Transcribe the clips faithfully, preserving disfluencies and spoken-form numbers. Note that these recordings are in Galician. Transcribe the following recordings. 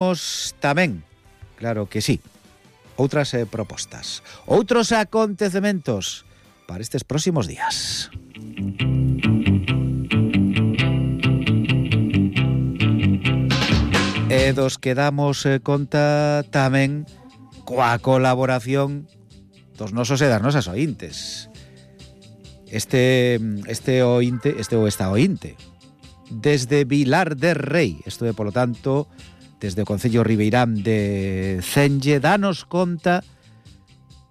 Temos tamén, claro que sí, outras eh, propostas, outros acontecementos para estes próximos días. E dos que damos eh, conta tamén coa colaboración dos nosos e das nosas ointes. Este este ointe, este ou esta ointe, desde Vilar de Rei, isto é, polo tanto, desde o Concello Ribeirán de Cenlle, danos conta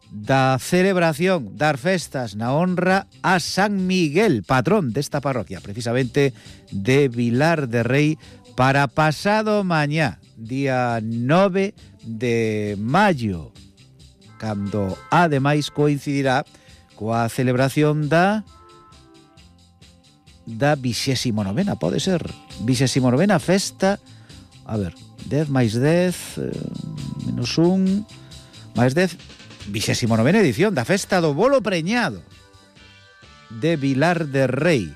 da celebración das festas na honra a San Miguel, patrón desta parroquia, precisamente de Vilar de Rei, para pasado mañá, día nove de maio, cando ademais coincidirá coa celebración da da vixésimo novena, pode ser, vixésimo novena festa, a ver, dez máis dez, eh, menos un, máis dez, vixésimo novena edición da festa do bolo preñado de Vilar de Rei.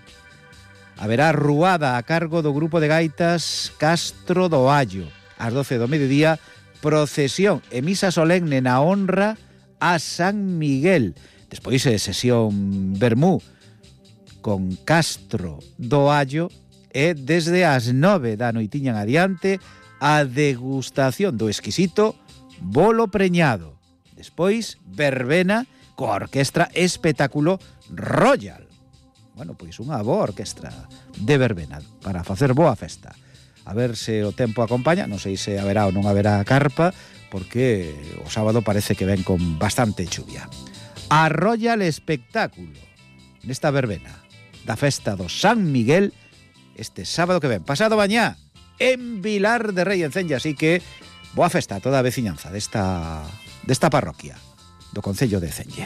Haberá ruada a cargo do grupo de gaitas Castro do Allo. Ás doce do mediodía, procesión e misa solemne na honra a San Miguel. Despois é sesión vermú con Castro do Allo e desde as nove da noitiña en adiante a degustación do exquisito bolo preñado. Despois, verbena coa orquestra espectáculo Royal. Bueno, pois unha boa orquestra de verbena para facer boa festa. A ver se o tempo acompaña, non sei se haberá ou non haberá carpa, porque o sábado parece que ven con bastante chuvia. A Royal Espectáculo nesta verbena da festa do San Miguel este sábado que ven, pasado mañá, en Vilar de Rei, en Cenlle, así que boa festa a toda a veciñanza desta, desta parroquia do Concello de Cenlle.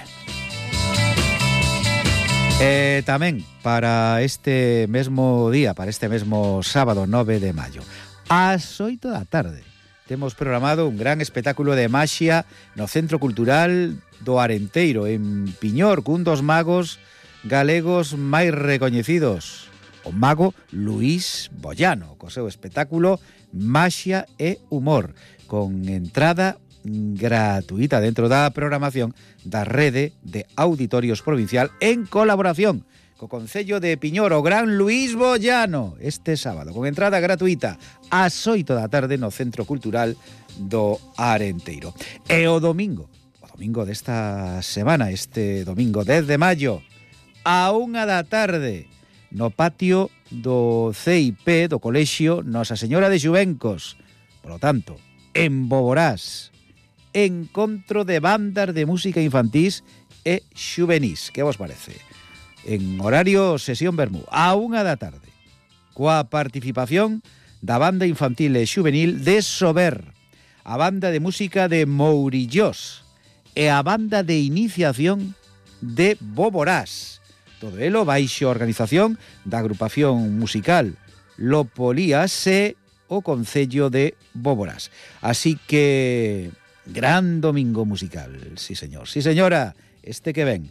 E tamén para este mesmo día, para este mesmo sábado nove de maio, ás oito da tarde, temos programado un gran espectáculo de maxia no Centro Cultural do Arenteiro, en Piñor, cun dos magos galegos máis recoñecidos, o mago Luís Bollano, co seu espectáculo Maxia e Humor, con entrada gratuita dentro da programación da Rede de Auditorios Provincial en colaboración co Concello de Piñor, o gran Luís Bollano, este sábado, con entrada gratuita ás oito da tarde no Centro Cultural do Arenteiro. E o domingo, o domingo desta semana, este domingo dez de maio, a unha da tarde, no patio do C I P do Colexio Nosa Señora de Xuvencos. Por lo tanto, en Boborás, encontro de bandas de música infantís e xuvenís. Que vos parece? En horario sesión vermú, a unha da tarde, coa participación da banda infantil e xuvenil de Sober, a banda de música de Mourillós e a banda de iniciación de Boborás. Todo elo baixo organización da agrupación musical Lopolías e o Concello de Boborás. Así que gran domingo musical, sí señor, sí señora, este que ven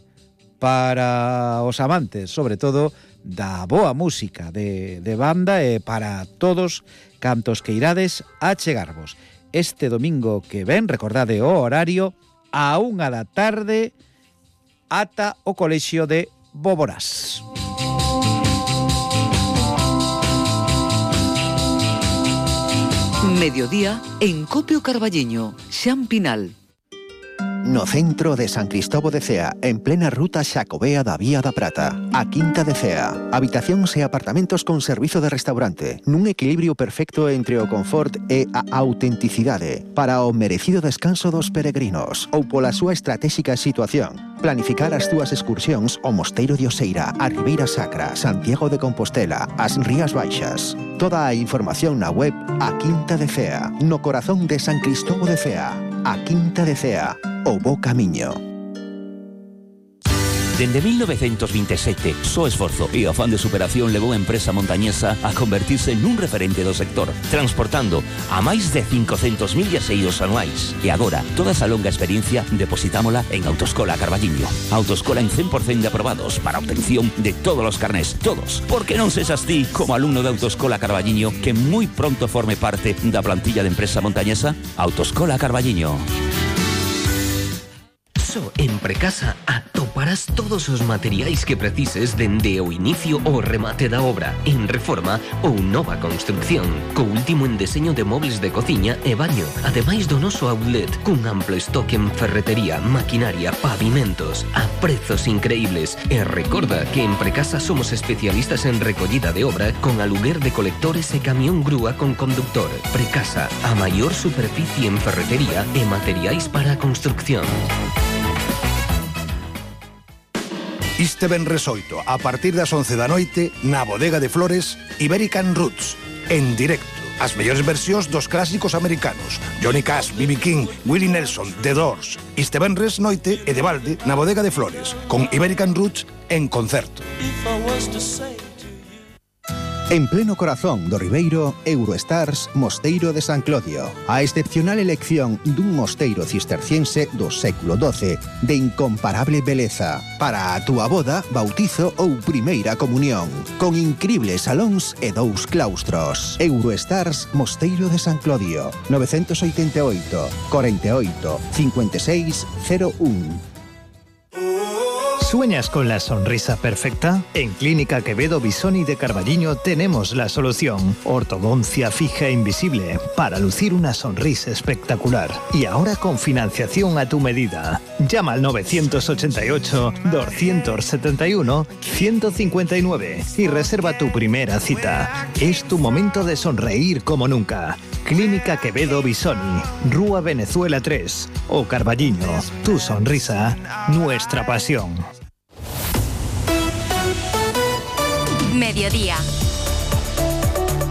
para os amantes, sobre todo, da boa música de, de banda e para todos cantos que irades a chegarvos. Este domingo que ven, recordade o horario, a unha da tarde ata o Colexio de Boborás. Mediodía en Copio Carballiño, Xan Pinal. No centro de San Cristóbal de Cea, en plena ruta Xacobea da Vía da Prata, a Quinta de Cea. Habitacións e apartamentos con servizo de restaurante, nun equilibrio perfecto entre o confort e a autenticidade, para o merecido descanso dos peregrinos, ou pola súa estratégica situación. Planificar as túas excursións ao Mosteiro de Oseira, a Ribeira Sacra, Santiago de Compostela, as Rías Baixas. Toda a información na web A Quinta de Cea, no corazón de San Cristóbal de Cea. A Quinta de Cea, o bo camiño. Dende mil novecientos veintisiete, só esforzo e afán de superación levou a empresa montañesa a convertirse nun referente do sector, transportando a máis de cincocentos mil viaxeiros anuais. E agora, toda esa longa experiencia depositámola en Autoescola Carballiño. Autoescola en cen por cen de aprobados para obtención de todos os carnés, todos. Porque non sexas ti, como alumno de Autoescola Carballiño, que moi pronto forme parte da plantilla de empresa montañesa? Autoescola Carballiño. Só en Precasa atoparás todos os materiais que precises dende o inicio ao remate da obra, en reforma ou nova construcción, co último en deseño de mobles de cociña e baño, ademais do noso outlet, cun amplo stock en ferretería, maquinaria, pavimentos, a prezos increíbles. E recorda que en Precasa somos especialistas en recollida de obra con aluguer de colectores e camión grúa con conductor. Precasa, a maior superficie en ferretería e materiais para a construcción. Este venres oito, a partir das once da noite, na Bodega de Flores, Iberican Roots, en directo. As mellores versións dos clásicos americanos. Johnny Cash, B B King, Willie Nelson, The Doors. Este venres noite e de balde na Bodega de Flores, con Iberican Roots en concerto. En pleno corazón do Ribeiro, Eurostars Mosteiro de San Clodio. A excepcional elección dun mosteiro cisterciense do século doce, de incomparable beleza, para a túa boda, bautizo ou primeira comunión, con incribles salóns e dous claustros. Eurostars Mosteiro de San Clodio, novecientos oitenta e oito, cuarenta y ocho, cincuenta y seis, cero uno. ¿Sueñas con la sonrisa perfecta? En Clínica Quevedo Bisoni de Carballiño tenemos la solución. Ortodoncia fija e invisible para lucir una sonrisa espectacular. Y ahora con financiación a tu medida. Llama al novecientos ochenta y ocho, doscientos setenta y uno, ciento cincuenta y nueve y reserva tu primera cita. Es tu momento de sonreír como nunca. Clínica Quevedo Bisoni, Rúa Venezuela tres o Carballiño. Tu sonrisa, nuestra pasión. Mediodía.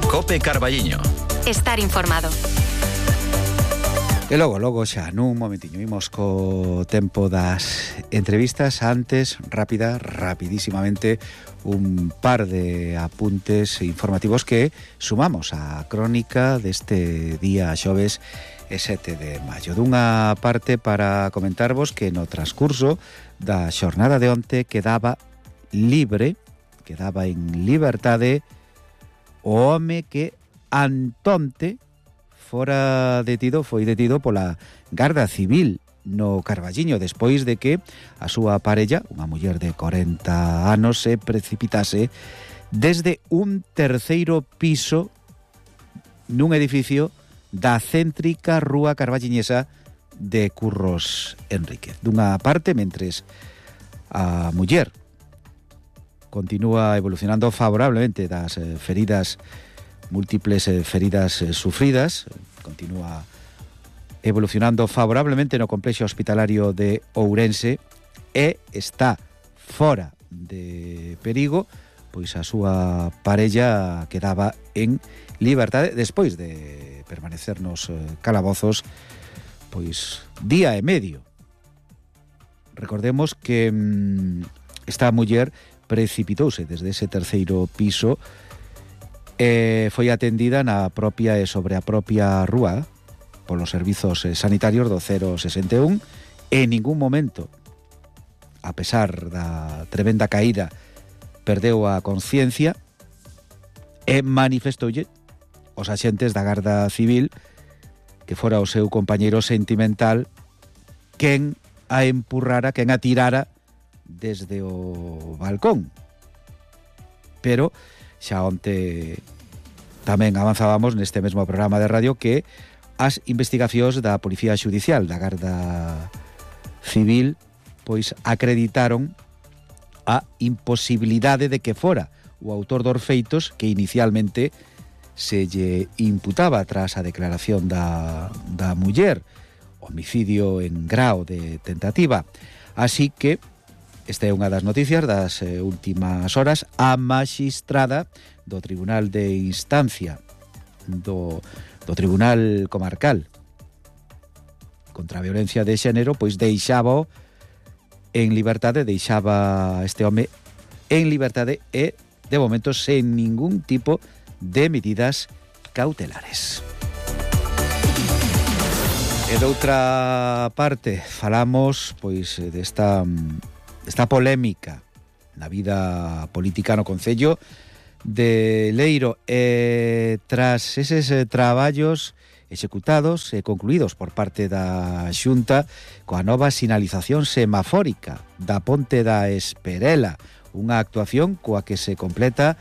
Cope Carballiño. Estar informado. E logo, logo xa, nun momentiño, imos co tempo das entrevistas. Antes, rápida, rapidísimamente, un par de apuntes informativos que sumamos á crónica deste día xoves e sete de maio. Dunha parte para comentarvos que no transcurso da xornada de onte quedaba libre, quedaba en liberdade o home que antonte fora detido, foi detido pola Garda Civil no Carballiño, despois de que a súa parella, unha muller de corenta anos, se precipitase desde un terceiro piso nun edificio da céntrica Rúa Carballiñesa de Curros Enríquez. Dunha parte, mentres a muller continúa evolucionando favorablemente das eh, feridas, múltiples eh, feridas eh, sufridas, continúa evolucionando favorablemente no complexo hospitalario de Ourense e está fora de perigo, pois a súa parella quedaba en liberdade despois de permanecer nos eh, calabozos pois día e medio. Recordemos que mmm, esta muller precipitouse desde ese terceiro piso e foi atendida na propia e sobre a propia rúa polos servizos sanitarios do cero sesenta e un. En ningún momento, a pesar da tremenda caída, perdeu a conciencia e manifestoulle os axentes da Garda Civil que fora o seu compañeiro sentimental quen a empurrara, quen a tirara desde o balcón. Pero xa onte tamén avanzábamos neste mesmo programa de radio que as investigacións da Policía Xudicial, da Garda Civil, pois acreditaron a imposibilidade de que fora o autor dos feitos que inicialmente se lle imputaba tras a declaración da, da muller, homicidio en grao de tentativa. Así que esta é unha das noticias das eh, últimas horas. A maxistrada do Tribunal de Instancia do, do Tribunal Comarcal contra a Violencia de Xénero pois deixaba en liberdade, deixaba este home en liberdade e, de momento, sen ningún tipo de medidas cautelares. E doutra parte, falamos pois desta, desta polémica na vida política no Concello de Leiro, e tras eses traballos executados e concluídos por parte da Xunta coa nova sinalización semafórica da Ponte da Esperela, unha actuación coa que se completa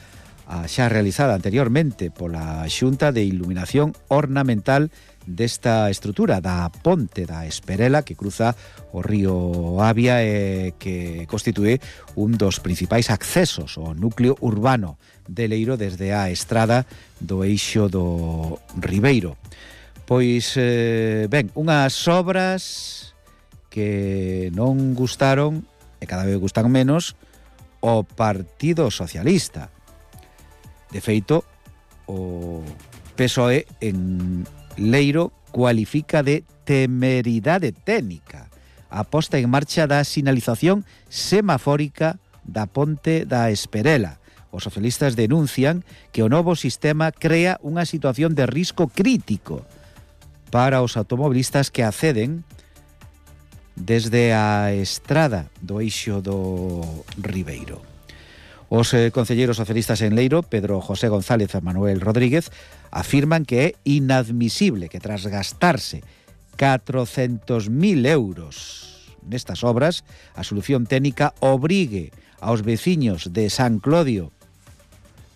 a xa realizada anteriormente pola Xunta de Iluminación Ornamental desta estrutura da Ponte da Esperela, que cruza o río Avia e que constitúe un dos principais accesos ao núcleo urbano de Leiro desde a estrada do eixo do Ribeiro. Pois, eh, ben, unhas obras que non gustaron, e cada vez gustan menos, o Partido Socialista. De feito, o P S O E en Leiro cualifica de temeridade técnica a posta en marcha da sinalización semafórica da Ponte da Esperela. Os socialistas denuncian que o novo sistema crea unha situación de risco crítico para os automobilistas que acceden desde a estrada do eixo do Ribeiro. Os eh, concelleiros socialistas en Leiro, Pedro José González e Manuel Rodríguez, afirman que é inadmisible que tras gastarse catrocentos mil euros nestas obras, a solución técnica obrigue aos veciños de San Clodio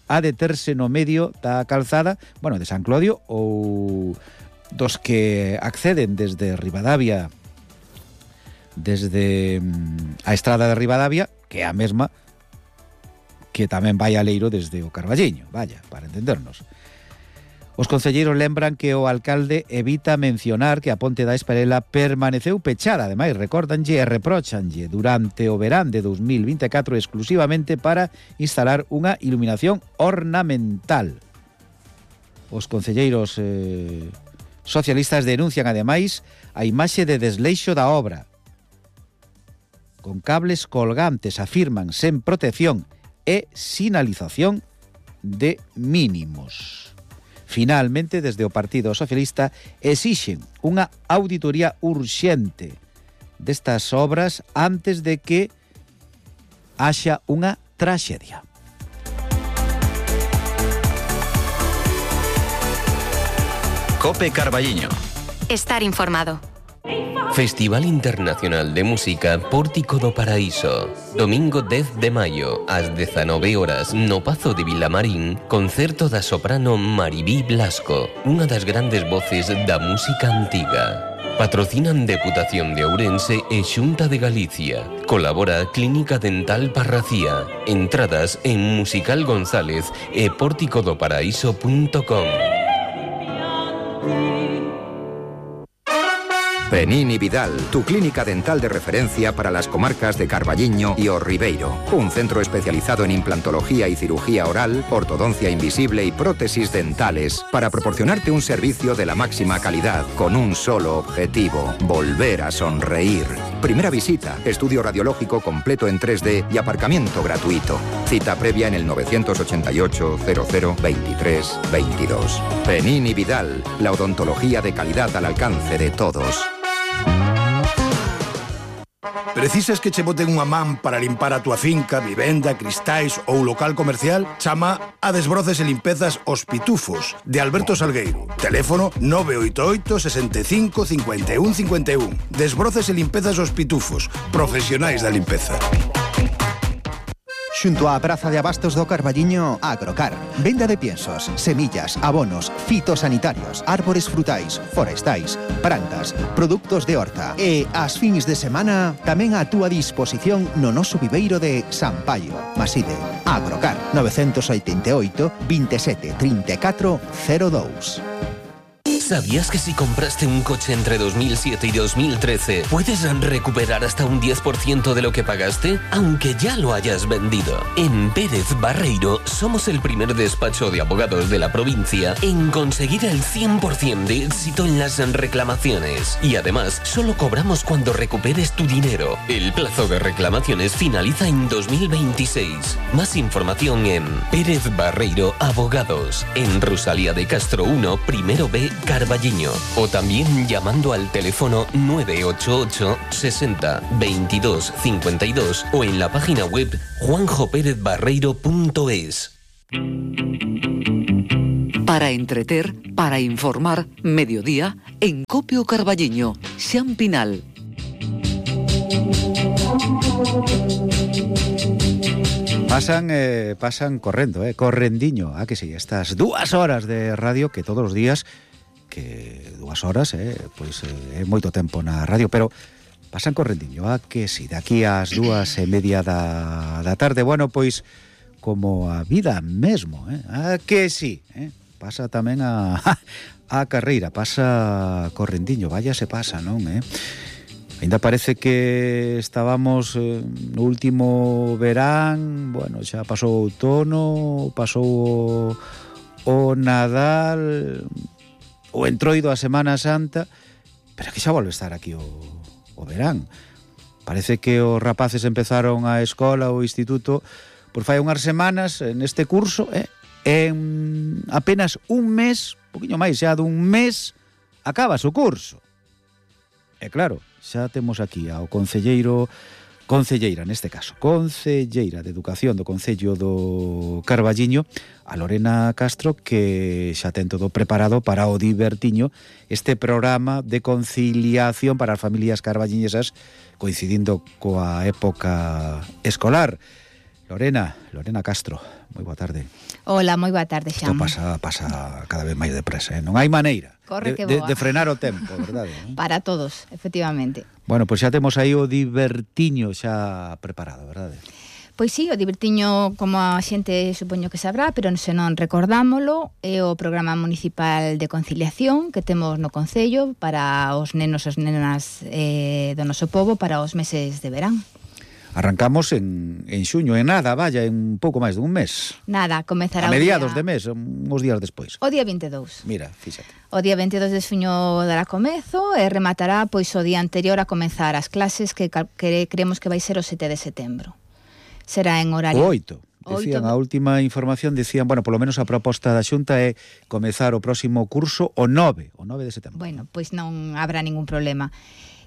a deterse no medio da calzada, bueno, de San Clodio ou dos que acceden desde Ribadavia, desde a estrada de Ribadavia, que é a mesma que tamén vai a Leiro desde o Carballiño, vaya, para entendernos. Os concelleiros lembran que o alcalde evita mencionar que a Ponte da Esperela permaneceu pechada, ademais recórdanlle e reprochanlle durante o verán de dos mil vinte e catro exclusivamente para instalar unha iluminación ornamental. Os concelleiros eh, socialistas denuncian ademais a imaxe de desleixo da obra. Con cables colgantes, afirman, sen protección e sinalización de mínimos. Finalmente, desde o Partido Socialista exixen unha auditoría urxente destas obras antes de que haxa unha traxedia. Cope Carballiño. Estar informado. Festival Internacional de Música Pórtico do Paraíso. Domingo dez de maio, ás dezanove horas, no Pazo de Vilamarín, concerto da soprano Maribí Blasco, unha das grandes voces da música antiga. Patrocinan Deputación de Ourense e Xunta de Galicia. Colabora Clínica Dental Parracía. Entradas en Musical González e pórtico do paraíso punto com. Penini Vidal, tu clínica dental de referencia para las comarcas de Carballiño y O Ribeiro. Un centro especializado en implantología y cirugía oral, ortodoncia invisible y prótesis dentales para proporcionarte un servicio de la máxima calidad con un solo objetivo: volver a sonreír. Primera visita, estudio radiológico completo en tres D y aparcamiento gratuito. Cita previa en el novecientos ochenta y ocho, cero cero, veintitrés, veintidós. Penini Vidal, la odontología de calidad al alcance de todos. Precisas que che boten unha man para limpar a túa finca, vivenda, cristais ou local comercial? Chama a Desbroces e Limpezas Os Pitufos, de Alberto Salgueiro. Teléfono nove oito oito, sesenta e cinco, cincuenta e un, cincuenta e un. Desbroces e Limpezas Os Pitufos, profesionais da limpeza. Xunto á Praza de Abastos do Carballiño, Agrocar. Venda de piensos, semillas, abonos, fitosanitarios, árbores frutais, forestais, plantas, produtos de horta. E as fins de semana tamén a túa disposición no noso viveiro de San Paio. Maside, Agrocar, novecientos oitenta e oito, veintisiete, treinta e catro, cero dous. ¿Sabías que si compraste un coche entre dos mil siete y dos mil trece puedes recuperar hasta un diez por ciento de lo que pagaste, aunque ya lo hayas vendido? En Pérez Barreiro somos el primer despacho de abogados de la provincia en conseguir el cien por ciento de éxito en las reclamaciones. Y además, solo cobramos cuando recuperes tu dinero. El plazo de reclamaciones finaliza en dos mil veintiséis. Más información en Pérez Barreiro Abogados, en Rosalía de Castro uno, primero B, Carballiño. O también llamando al teléfono nueve ocho ocho sesenta veintidós cincuenta y dos o en la página web juanjo pérez barreiro punto es. Para entreter, para informar, mediodía, en Copio Carballiño, Xan Pinal. Pasan, eh, pasan correndo, eh, correndiño, a que sí, estas dúas horas de radio que todos os días, que dúas horas, eh, pois é eh, moito tempo na radio, pero pasan correndiño, a que sí, de aquí ás dúas e media da, da tarde, bueno, pois como a vida mesmo, eh, a que sí, eh, pasa tamén a, a carreira, pasa correndiño, vaya se pasa, non, eh? Ainda parece que estábamos eh, no último verán, bueno, xa pasou o outono, pasou o, o Nadal, o entroido a Semana Santa, pero que xa volve a estar aquí o, o verán. Parece que os rapaces empezaron a escola ou instituto por fai unhas semanas neste curso, eh, en apenas un mes, un poquinho máis xa dun mes, acabas o curso. E claro, xa temos aquí ao concelleiro, concelleira neste caso, concelleira de Educación do Concello do Carballiño, a Lorena Castro, que xa ten todo preparado para o Divertiño, este programa de conciliación para as familias carballiñesas coincidindo coa época escolar. Lorena, Lorena Castro, moi boa tarde. Hola, moi boa tarde, Xan. Isto pasa, pasa cada vez máis depresa, eh? Non hai maneira Corre que de, boa. de, de frenar o tempo, verdade? ¿No? Para todos, efectivamente. Bueno, pois xa temos aí o Divertiño xa preparado, verdade? Pois sí, o Divertiño, como a xente supoño que sabrá, pero se non recordámolo, é o programa municipal de conciliación que temos no Concello para os nenos e as nenas eh, do noso pobo para os meses de verán. Arrancamos en, en xuño, en nada, vaya, en un pouco máis dun mes. Nada, comezará a mediados o día... de mes, uns días despois. O día vinte e dous. Mira, fíxate. O día vinte e dous de xuño dará comezo e rematará pois o día anterior a comenzar as clases que, que creemos que vai ser o sete de setembro. Será en horario... O oito. Decían, a última información decían, bueno, polo menos a proposta da Xunta é comezar o próximo curso o nove, o nove de setembro. Bueno, pois non habrá ningún problema.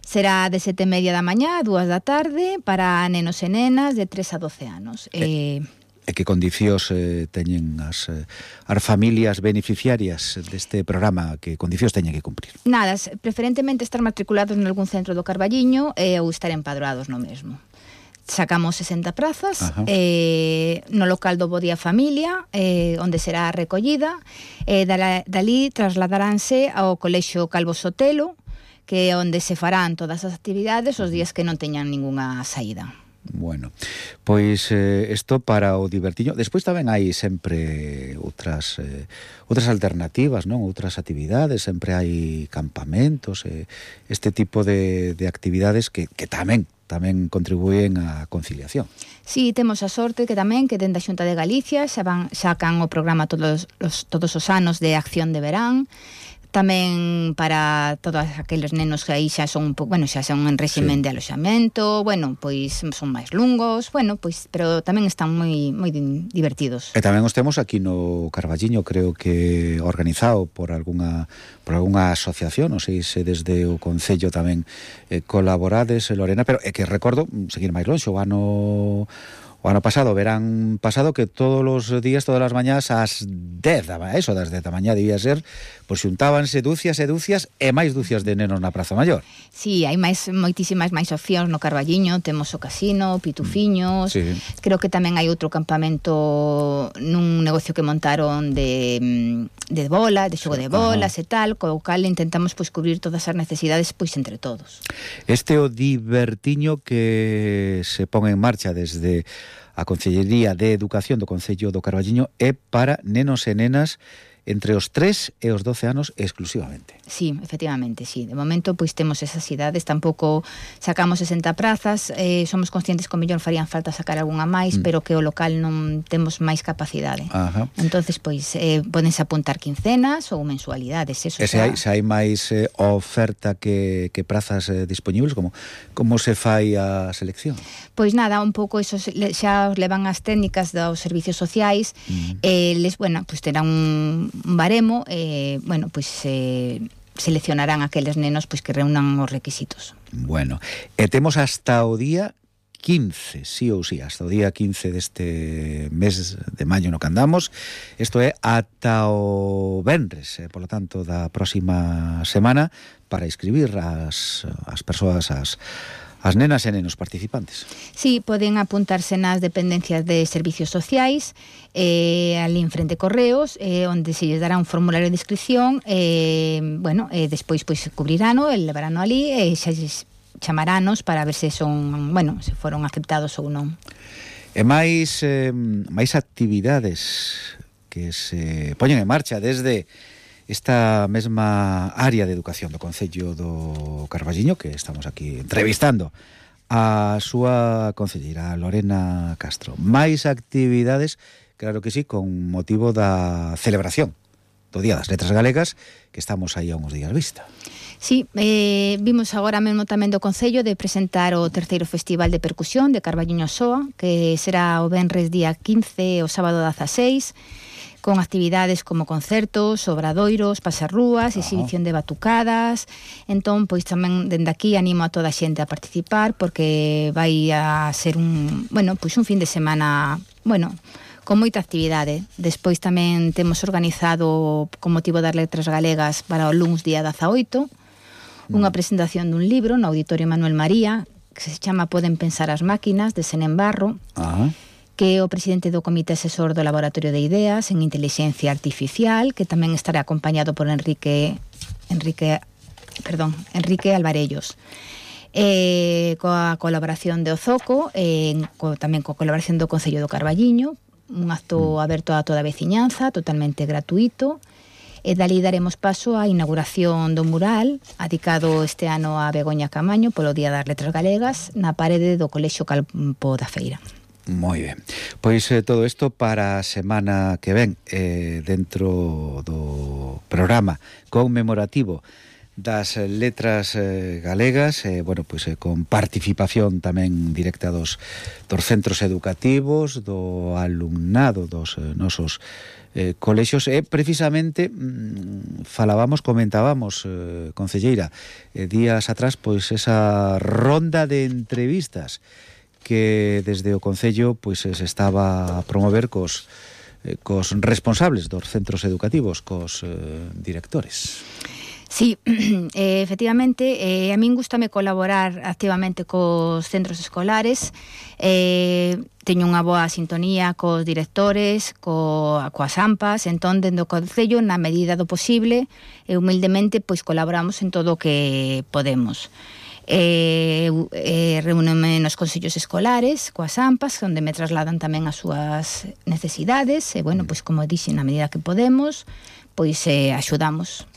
Será de sete e media da mañá a dúas da tarde para nenos e nenas de tres a doce anos. E, eh, e que condicións eh, teñen as, eh, as familias beneficiarias deste programa, que condicións teñen que cumprir? Nada, preferentemente estar matriculados en algún centro do Carballiño eh, ou estar empadroados no mesmo. Sacamos sesenta prazas eh, no local do Bo Día Familia, eh, onde será recollida, e eh, dali trasladaránse ao Colexio Calvo Sotelo, que é onde se farán todas as actividades os días que non teñan ningunha saída. Bueno, pois isto eh, para o Divertiño. Despois tamén hai sempre outras eh, outras alternativas, non? Outras actividades, sempre hai campamentos, eh, este tipo de, de actividades que, que tamén tamén contribúen á conciliación. Sí, temos a sorte que tamén que dende a Xunta de Galicia xa van sacan o programa todos os, todos os anos de acción de verán. Tamén para todos aqueles nenos que aí xa son un pouco, bueno, xa son en réximen sí. de aloxamento, bueno, pois son máis lungos, bueno, pois pero tamén están moi moi divertidos. E tamén os temos aquí no Carballiño, creo que organizado por algunha por algunha asociación, non sei se desde o Concello tamén eh, colaborades, Lorena, pero é que recordo seguir máis longe, o ano O ano pasado, verán pasado, que todos os días, todas as mañás, ás dez, eso, das dez da mañá debía ser, pois xuntábanse dúcias e dúcias e máis dúcias de nenos na Praza Maior. Sí, hai máis moitísimas máis opcións no Carballiño, temos o casino, pitufiños, sí. Creo que tamén hai outro campamento nun negocio que montaron de, de bola, de xogo sí. de bolas Ajá. e tal, co cal intentamos pois cubrir todas as necesidades pois entre todos. Este o Divertiño que se pon en marcha desde a Concellería de Educación do Concello do Carballiño é para nenos e nenas entre os tres e os doce anos exclusivamente. Sí, efectivamente, sí. De momento, pois temos esas idades, tampouco sacamos sesenta prazas, eh, somos conscientes que o mellor farían falta sacar algunha máis, mm. pero que o local non temos máis capacidade. Ajá. Entonces, pois, eh, podense apuntar quincenas ou mensualidades, eso. E se hai, se hai máis eh, oferta que, que prazas eh, disponibles, como, como se fai a selección? Pois nada, un pouco eso xa os levan as técnicas dos servicios sociais, mm. eh, les, bueno, pois terán un un baremo, eh, bueno, pois eh, seleccionarán aqueles nenos pois que reúnan os requisitos. Bueno, e temos hasta o día quince, sí ou sí, hasta o día quince deste mes de maio no que andamos. Isto é ata o venres, eh, por lo tanto, da próxima semana, para inscribir as, as persoas, as as nenas e nenos participantes. Sí, poden apuntarse nas dependencias de servicios sociais, eh, ali en frente Correos, eh, onde se lles dará un formulario de inscripción, eh, bueno, eh, despois pois cubrirano, el levarano ali, e xa lles chamaranos para ver se son, bueno, se foron aceptados ou non. E máis, eh, máis actividades que se poñen en marcha desde esta mesma área de educación do Concello do Carballiño, que estamos aquí entrevistando a súa concelleira, Lorena Castro. Máis actividades, claro que sí, con motivo da celebración do Día das Letras Galegas, que estamos aí a uns días vista. Sí, eh, vimos agora mesmo tamén do Concello de presentar o terceiro Festival de Percusión de Carballiño Soa, que será o venres día quince e o sábado dezaseis, con actividades como concertos, obradoiros, pasarrúas, exhibición de batucadas. Entón, pois tamén dende aquí animo a toda a xente a participar, porque vai a ser un, bueno, pois un fin de semana, bueno, con moita actividade. Despois tamén temos organizado, con motivo das Letras Galegas, para o luns día dezaoito, unha presentación dun libro no Auditorio Manuel María, que se chama Poden pensar as máquinas, de Senén Barro, Ajá. que é o presidente do Comité Asesor do Laboratorio de Ideas en Inteligencia Artificial, que tamén estará acompañado por Enrique Enrique, perdón, Enrique Alvarellos. Eh, coa colaboración de Ozoco, eh, co, tamén coa colaboración do Concello do Carballiño, un acto aberto a toda a veciñanza, totalmente gratuito, e dali daremos paso á inauguración do mural adicado este ano a Begoña Camaño polo Día das Letras Galegas na parede do Colexio Campo da Feira. Moi ben. Pois eh, todo isto para a semana que ven, eh, dentro do programa conmemorativo das letras eh, galegas, eh, bueno, pois eh, con participación tamén directa dos, dos centros educativos, do alumnado dos eh, nosos eh, colexios, e precisamente mm, falábamos, comentábamos, eh, concelleira, eh, días atrás, pois esa ronda de entrevistas que desde o Concello pois se estaba a promover cos, eh, cos responsables dos centros educativos, cos eh, directores. Sí, eh, efectivamente, eh, a min gustame colaborar activamente cos centros escolares, eh, teño unha boa sintonía cos directores, co, coas AMPAs, entón, dende o Concello, na medida do posible, e humildemente, pois colaboramos en todo o que podemos. Eh, eh, reúneme nos consellos escolares coas AMPAs, onde me trasladan tamén as súas necesidades, e bueno, pois como dixen, na medida que podemos, pois eh, axudamos.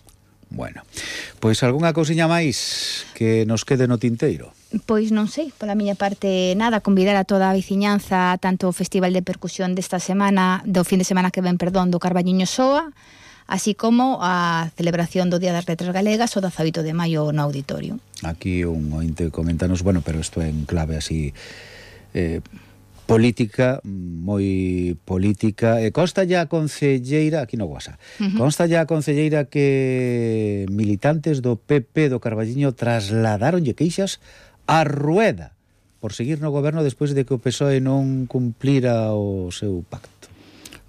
Bueno, pois algunha cousiña máis que nos quede no tinteiro? Pois non sei, pola miña parte nada, convidar a toda a veciñanza tanto o Festival de Percusión desta semana, do fin de semana que ven, perdón, do Carballiño Soa, así como a celebración do Día das Letras Galegas o dezaoito de maio no auditorio. Aquí un ointe coméntanos, bueno, pero isto é en clave así eh, política, moi política. E consta ya a concelleira, aquí no WhatsApp, uh-huh. consta ya a concelleira que militantes do P P do Carballiño trasladaronlle queixas a Rueda por seguir no goberno despois de que o P S O E non cumplira o seu pacto.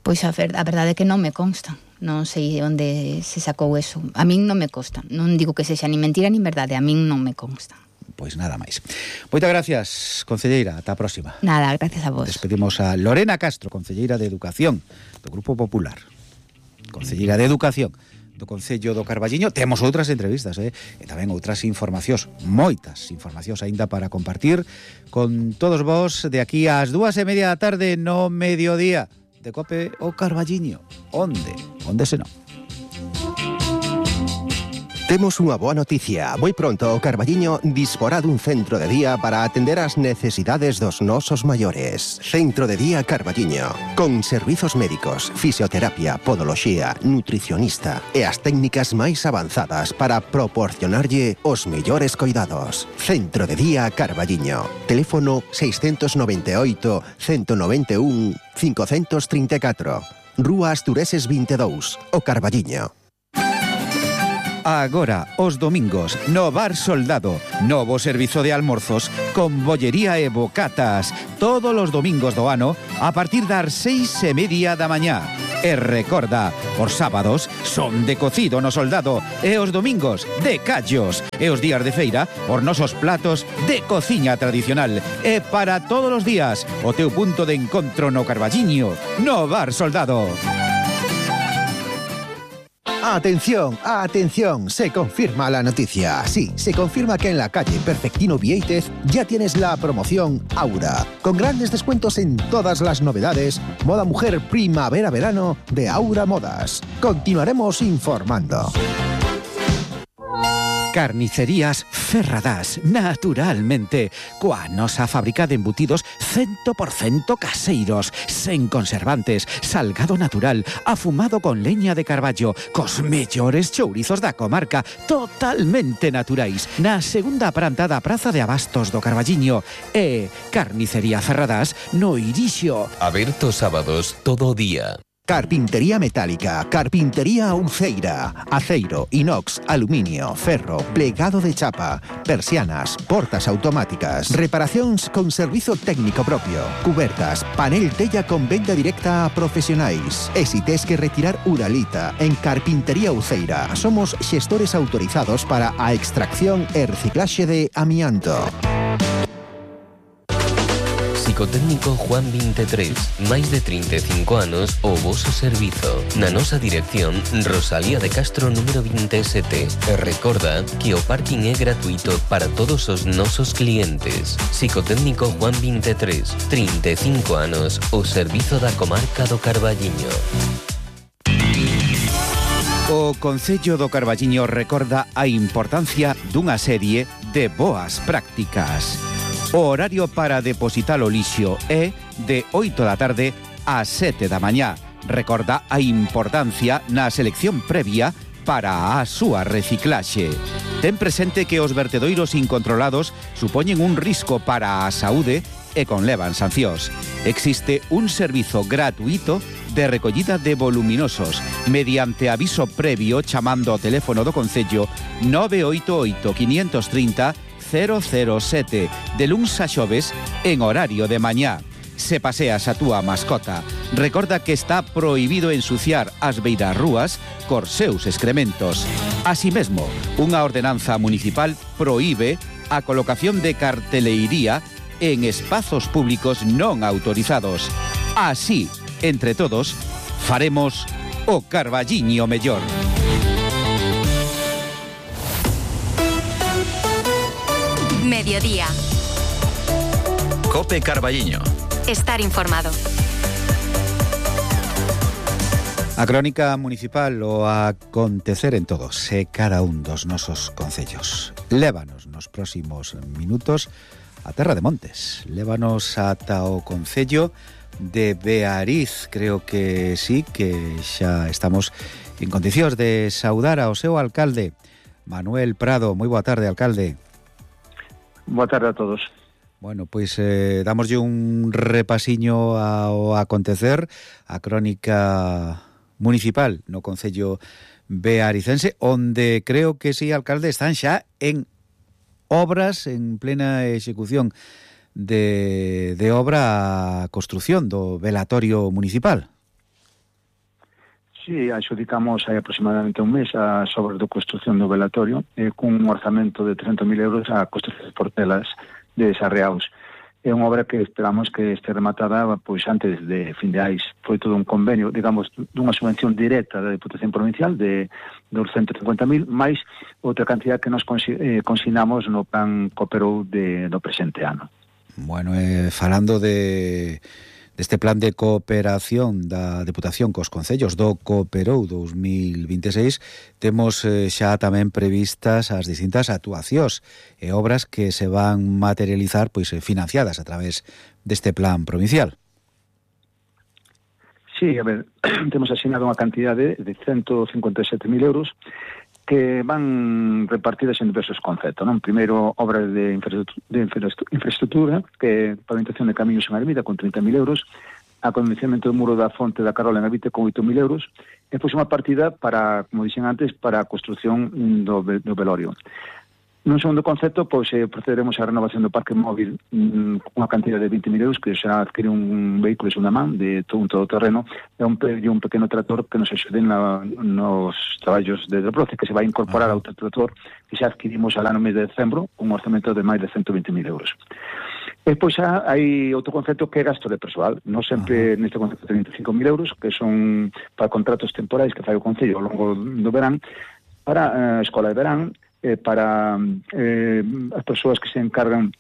Pois a, ver, a verdade é que non me consta. Non sei onde se sacou eso. A min non me consta. Non digo que sexa ni mentira ni verdade, a min non me consta. Pois nada máis. Moitas gracias, concelleira, ata a próxima. Nada, gracias a vos. Despedimos a Lorena Castro, concelleira de Educación do Grupo Popular. Concelleira de Educación do Concello do Carballiño. Temos outras entrevistas, eh? E tamén outras informacións, moitas informacións aínda para compartir con todos vos de aquí ás dúas e media da tarde no mediodía de Cope o Carballiño. Onde? Onde se non? Temos unha boa noticia. Moi pronto o Carballiño disporá dun centro de día para atender as necesidades dos nosos maiores. Centro de Día Carballiño, con servizos médicos, fisioterapia, podoloxía, nutricionista e as técnicas máis avanzadas para proporcionarlle os mellores coidados. Centro de Día Carballiño. Teléfono seiscentos noventa e oito, ciento noventa e un, quinhentos trinta e catro. Rúa Astureses vinte e dous, o Carballiño. Agora, os domingos, no Bar Soldado, novo servizo de almorzos con bollería e bocatas, todos os domingos do ano a partir das seis e media da mañá. E recorda, os sábados son de cocido no Soldado e os domingos de callos e os días de feira os nosos platos de cociña tradicional e para todos os días o teu punto de encontro no Carballiño, no Bar Soldado. Atención, atención, se confirma la noticia. Sí, se confirma que en la calle Perfectino Vieitez ya tienes la promoción Aura, con grandes descuentos en todas las novedades, moda mujer primavera-verano de Aura Modas. Continuaremos informando. Carnicerías Ferradás, naturalmente, coa nosa fábrica de embutidos cien por ciento caseiros, sen conservantes, salgado natural, afumado con leña de carballo, cos mellores chourizos da comarca, totalmente naturais, na segunda planta da Praza de Abastos do Carballiño, e Carnicería Ferradás no Irixo. Aberto sábados todo o día. Carpintería metálica, carpintería Uceira, aceiro, inox, aluminio, ferro, plegado de chapa, persianas, portas automáticas, reparacións con servizo técnico propio, cubertas, panel tella con venda directa a profesionais. E si tes que retirar uralita, en Carpintería Uceira somos xestores autorizados para a extracción e reciclaxe de amianto. Psicotécnico Juan veintitrés, máis de trinta e cinco anos o voso servizo. Na nosa dirección, Rosalía de Castro número veintisiete. E recorda que o parking é gratuito para todos os nosos clientes. Psicotécnico Juan veintitrés, trinta e cinco anos, o servizo da comarca do Carballiño. O Concello do Carballiño recorda a importancia dunha serie de boas prácticas. O horario para depositar o lixo é de oito da tarde a sete da mañá. Recorda a importancia na selección previa para a súa reciclaxe. Ten presente que os vertedoiros incontrolados supoñen un risco para a saúde e conlevan sancións. Existe un servizo gratuito de recollida de voluminosos mediante aviso previo chamando ao teléfono do Concello nove oito oito, cinco tres cero, cero cero sete de luns a xoves en horario de mañá. Se paseas a túa mascota, recorda que está prohibido ensuciar as beiras rúas cos seus excrementos. Así mesmo, unha ordenanza municipal prohíbe a colocación de carteleiría en espazos públicos non autorizados. Así, entre todos, faremos o Carballiño mellor. Mediodía. Cope Carballiño. Estar informado. A crónica municipal o acontecer en todos e cada un dos nosos concellos. Lévanos nos próximos minutos a Terra de Montes. Lévanos ata o concello de Beariz. Creo que sí, que xa estamos en condicións de saudar ao seu alcalde, Manuel Prado. Moi boa tarde, alcalde. Boa tarde a todos. Bueno, pois eh, damoslle un repasiño ao acontecer, a crónica municipal no concello bearicense, onde creo que sí, alcalde, están xa en obras, en plena execución de, de obra a construción do velatorio municipal. Sí, adxudicamos hai aproximadamente un mes as obras de construción do velatorio eh, cun orzamento de trescentos mil euros a construir portelas de Sarreaus. É unha obra que esperamos que este rematada pois antes de fin de ais. Foi todo un convenio, digamos, dunha subvención directa da Diputación Provincial de doscientos cincuenta mil, máis outra cantidad que nos eh, consignamos no plan Cooperou de, do presente ano. Bueno, eh, falando de... deste plan de cooperación da Deputación cos concellos do Cooperou dos mil vinte e seis, temos eh, xa tamén previstas as distintas actuacións e obras que se van materializar pois financiadas a través deste plan provincial. Sí, a ver, temos asignado unha cantidade de ciento cincuenta e sete mil euros que van repartidas en diversos conceptos, non? Primeiro, obras de infraestructura, de infraestructura, que pavimentación de camiños en Armida con trinta mil euros, acondicionamento do muro da fonte da Carola en Avite con oito mil euros, e pois unha partida para, como dixen antes, para a construción do, do velorio. Nun segundo concepto, pois eh, procederemos á renovación do parque móvil con mm, unha cantidad de vinte mil euros, que será adquirir un vehículo de segunda man de todo un todoterreno e un, e un pequeno tractor que nos axuden na, nos traballos de desbroce, que se vai incorporar ao trator que xa adquirimos al ano mes de decembro, un orzamento de máis de ciento vinte mil euros. E pois xa hai outro concepto que é gasto de persoal. Non sempre uh-huh. neste concepto de vinte e cinco mil euros, que son para contratos temporais que fai o Concello ao longo do verán, para a eh, escola de verán, eh, para eh, as persoas que se encargan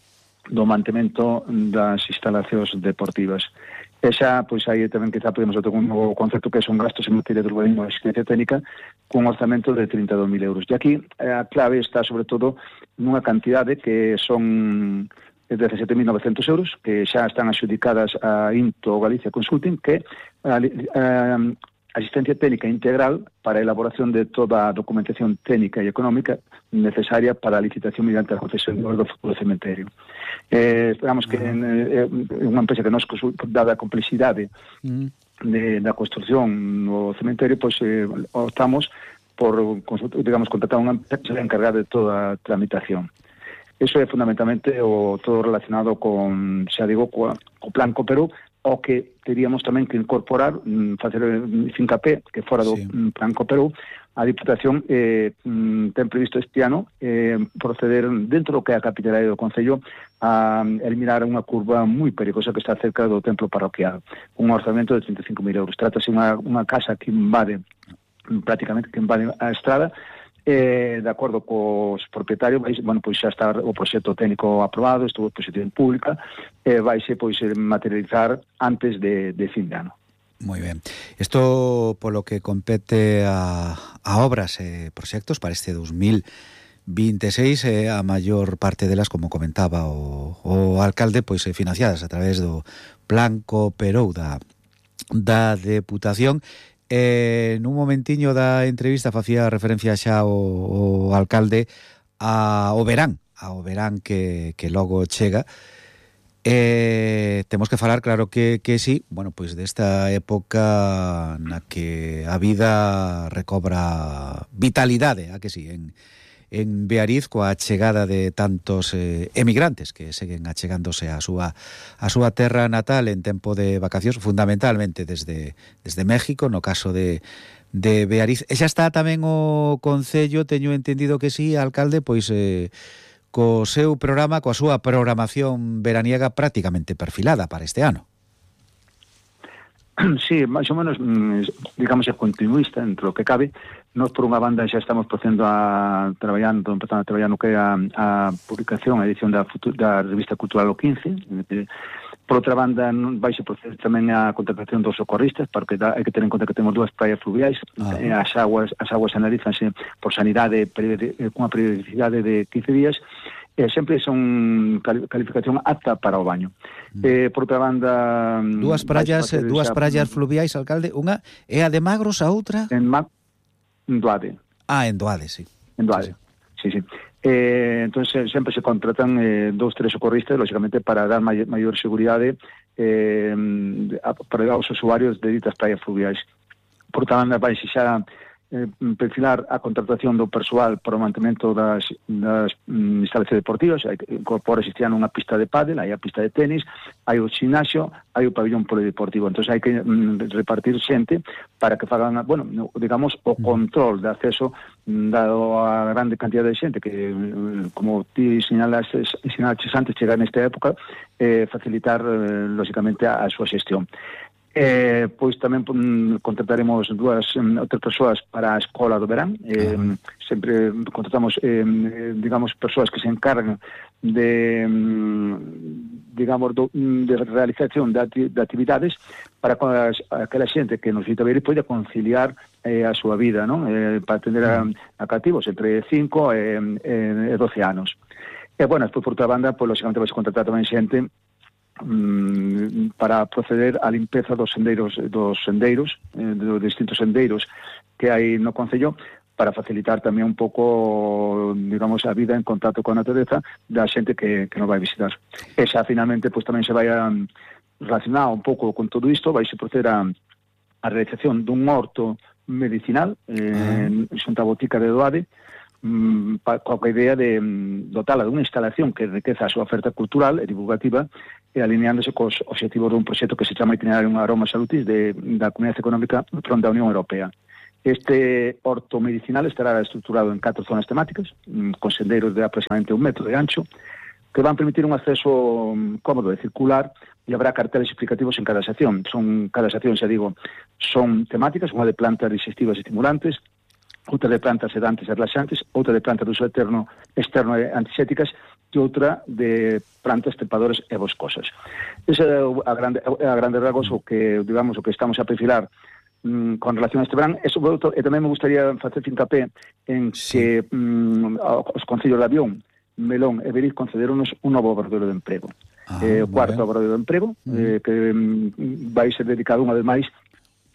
do mantemento das instalacións deportivas. E xa, pois aí tamén quizá podemos outro un novo concepto que son gastos en materia de urbanismo e asistencia técnica cun orzamento de trinta e dous mil euros. E aquí a clave está sobre todo nunha cantidade que son dezasete mil novecentos euros, que xa están adxudicadas a Into Galicia Consulting, que a, a, asistencia técnica integral para a elaboración de toda a documentación técnica e económica necesaria para a licitación mediante a concesión do futuro cementerio. Eh, esperamos que é eh, unha empresa que nos, dada a complexidade uh-huh. de, da construción no cementerio, pois eh, optamos por, digamos, contratar unha empresa que se encargar de toda a tramitación. Eso é fundamentalmente o todo relacionado con, xa digo, co, co plan Cooperou, o que teríamos tamén que incorporar, facer fincapé, que fora do sí. plan Cooperou, a Diputación eh, ten previsto este ano eh, proceder dentro do que é a capitalidade do Concello a eliminar unha curva moi perigosa que está cerca do templo parroquial, un orzamento de trinta e cinco mil euros. Trátase unha, unha casa que invade, prácticamente que invade a estrada. Eh, de acordo cos propietarios, vai, bueno, pois xa está o proxecto técnico aprobado, estuvo exposición pública, e eh, vaise pois materializar antes de, de fin de ano. Moi ben. Isto polo que compete a, a obras e proxectos para este dos mil vinte e seis, eh, a maior parte delas, como comentaba o, o alcalde, pois eh, financiadas a través do Plan Cooperou da, da Deputación. Eh, nun momentiño da entrevista facía referencia xa o, o alcalde ao verán, ao verán que, que logo chega. Eh, temos que falar, claro que, que sí, bueno, pois desta época na que a vida recobra vitalidade, a que sí, en, en Beariz, coa chegada de tantos eh, emigrantes que seguen achegándose á súa a súa terra natal en tempo de vacacións, fundamentalmente desde desde México, no caso de de Beariz. E xa está tamén o Concello, teño entendido que sí, alcalde, pois eh, co seu programa, coa súa programación veraniega prácticamente perfilada para este ano. Sí, máis ou menos, digamos, é continuista entre o que cabe. Nós, por unha banda, xa estamos procedendo a traballando, empezando a traballar no que é a, a publicación, a edición da, da revista cultural o quince. Por outra banda, vai se proceder tamén a contratación dos socorristas, porque da, hai que ter en conta que temos dúas praias fluviais. Ah. As aguas as aguas analízanse por sanidade con unha periodicidade de quince días. Eh, sempre son calificación apta para o baño. Mm. Eh, por outra banda... Dúas praias, dúas praias fluviais, alcalde. Unha é a de Magros, a outra? En Ma... en Doade. Ah, en Doade, sí. En Doade, sí, sí. sí. Eh, entonces sempre se contratan eh, dous, tres socorristas, lógicamente, para dar may maior seguridade eh, para os usuarios de ditas praias fluviais. Por outra banda, vai xa... Eh, perfilar a contratación do persoal para o mantemento das, das mm, instalacións deportivas. Hai que incorporar este ano unha pista de pádel, hai a pista de tenis, hai o gimnasio, hai o pabellón polideportivo. Entón hai que mm, repartir xente para que fagan, bueno, digamos, o control de acceso, dado a grande cantidad de xente que, como ti señalas, señalaches antes, chegar nesta época, eh, facilitar, eh, lógicamente, a, a súa xestión. Eh, pois tamén um, contrataremos dúas um, outras persoas para a escola do verán. Eh, uh-huh. Sempre contratamos, eh, digamos, persoas que se encargan de, um, digamos, do, de realización de, ati, de actividades para que aquela xente que nos visita Beariz poida conciliar eh, a súa vida, non? Eh, para atender a, a cativos entre cinco e, e doce anos. E, bueno, despois, por outra banda, pois, lógicamente, vai se contratar tamén xente mm, para proceder á limpeza dos sendeiros, dos sendeiros, eh, dos distintos sendeiros que hai no Concello, para facilitar tamén un pouco, digamos, a vida en contacto con a natureza da xente que, que nos vai visitar. E xa, finalmente, pois tamén se vai a relacionar un pouco con todo isto, vai se proceder a, a realización dun horto medicinal eh, uh-huh. xunta a botica de Doade, mm, pa, coa idea de mm, dotala dunha instalación que enriqueza a súa oferta cultural e divulgativa e alineándose cos obxectivos dun proxecto que se chama Itinerario Aroma Salutis de, da Comunidade Económica da Unión Europea. Este horto medicinal estará estruturado en catro zonas temáticas, con sendeiros de aproximadamente un metro de ancho, que van permitir un acceso cómodo e circular, e habrá carteles explicativos en cada sección. Son, cada sección, xa digo, son temáticas, unha de plantas digestivas e estimulantes, outra de plantas sedantes e relaxantes, outra de plantas de uso eterno, externo e antisépticas, e outra de plantas trepadoras e boscosas. Ese é a grande, a grande rasgos o que, digamos, o que estamos a perfilar con relación a este verán. E, sobre outro, e tamén me gustaría facer fincapé en que mm, os concellos de Avión, Melón e Beariz concederonos un novo obradoiro de emprego. Ah, eh, o cuarto obradoiro de emprego, mm. eh, que mm, vai ser dedicado unha vez máis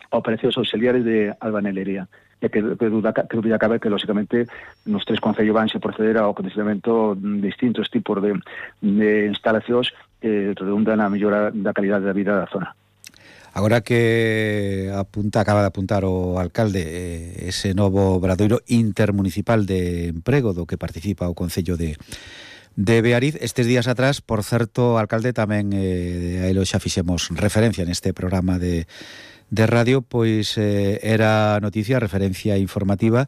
a operacións auxiliares de albanelería. E que, que, duda, que dúbida cabe que, lógicamente, nos tres concellos van se proceder ao acondicionamento de distintos tipos de, de instalacións que redundan a mellora da calidade da vida da zona. Agora que apunta, acaba de apuntar o alcalde eh, ese novo obradoiro intermunicipal de emprego do que participa o Concello de, de Beariz, estes días atrás, por certo, alcalde, tamén eh, a elo xa fixemos referencia neste programa de, de radio, pois eh, era noticia, referencia informativa,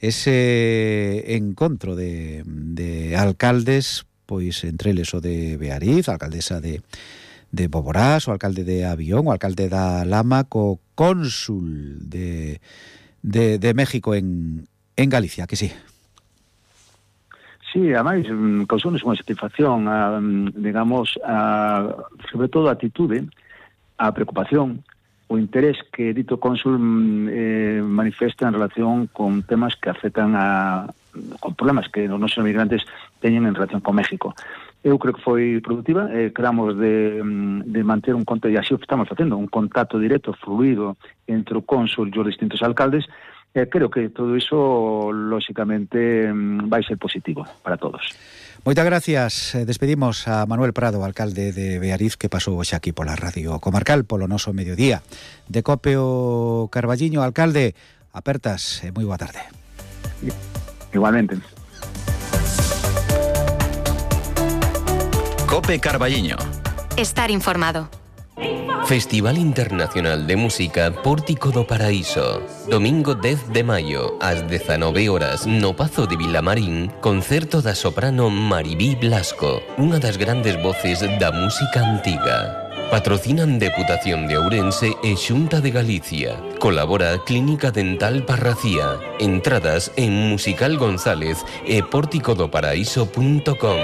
ese encontro de, de alcaldes, pois entre eles o de Beariz, a alcaldesa de de Boborás, o alcalde de Avión, o alcalde da Lama, co cónsul de, de, de México en, en Galicia, que sí? Sí, ademais, causones unha satisfacción, a, digamos, a, sobre todo a atitude, a preocupación, o interés que dito cónsul eh, manifesta en relación con temas que afectan a con problemas que os nosos migrantes teñen en relación con México. Eu creo que foi produtiva, eh, queramos de, de manter un contacto, e así o estamos facendo, un contacto directo, fluido, entre o cónsul e os distintos alcaldes, e eh, creo que todo iso, lógicamente, vai ser positivo para todos. Moitas gracias. Despedimos a Manuel Prado, alcalde de Beariz, que pasou hoxe aquí pola Radio Comarcal, polo noso mediodía. De Cope o Carballiño, alcalde, apertas e moi boa tarde. Igualmente. Cope Carballiño. Estar informado. Festival Internacional de Música Pórtico do Paraíso. Domingo dez de maio, ás dezanove horas, no Pazo de Vilamarín, concerto da soprano Maribí Blasco, unha das grandes voces da música antiga. Patrocinan Deputación de Ourense e Xunta de Galicia. Colabora Clínica Dental Parracía. Entradas en Musical González e pórtico do paraíso punto com.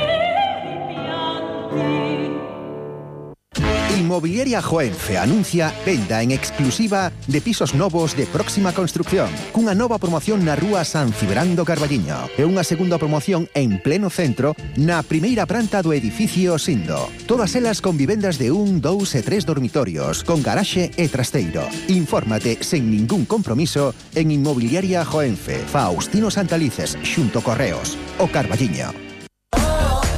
Inmobiliaria Joenfe anuncia venda en exclusiva de pisos novos de próxima construcción, cunha nova promoción na rúa San Cibrán do Carballiño e unha segunda promoción en pleno centro na primeira planta do edificio Sindo. Todas elas con vivendas de un, dous e tres dormitorios, con garaxe e trasteiro. Infórmate sen ningún compromiso en Inmobiliaria Joenfe, Faustino Santalices, xunto Correos, o Carballiño.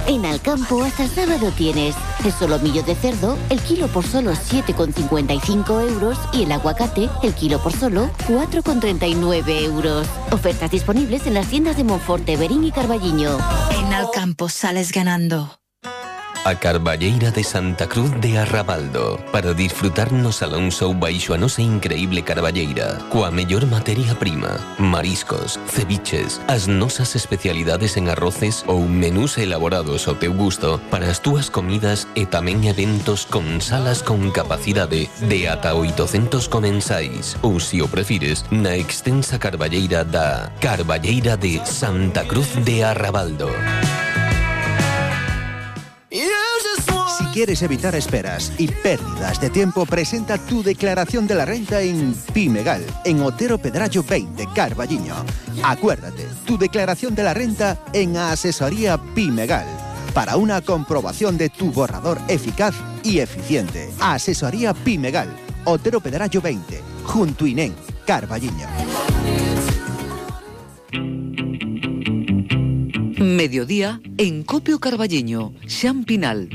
En Alcampo hasta sábado tienes el solomillo de cerdo, el kilo por solo siete con cincuenta y cinco euros y el aguacate, el kilo por solo cuatro con treinta y nueve euros. Ofertas disponibles en las tiendas de Monforte, Berín y Carballiño. En Alcampo sales ganando. A Carballeira de Santa Cruz de Arrabaldo, para disfrutar no Salón Show baixo a nosa increíble Carballeira, coa mellor materia prima, mariscos, ceviches, as nosas especialidades en arroces ou menús elaborados ao teu gusto para as túas comidas e tamén eventos con salas con capacidade de ata oitocentos comensais, ou se o prefires, na extensa Carballeira da Carballeira de Santa Cruz de Arrabaldo. quieres evitar esperas y pérdidas de tiempo, presenta tu declaración de la renta en Pimegal, en Otero Pedrallo veinte, Carballiño. Acuérdate, tu declaración de la renta en Asesoría Pimegal, para una comprobación de tu borrador eficaz y eficiente. Asesoría Pimegal, Otero Pedrallo veinte, junto a Inén, Carballiño. Mediodía en Copio Carballiño, Xampinal.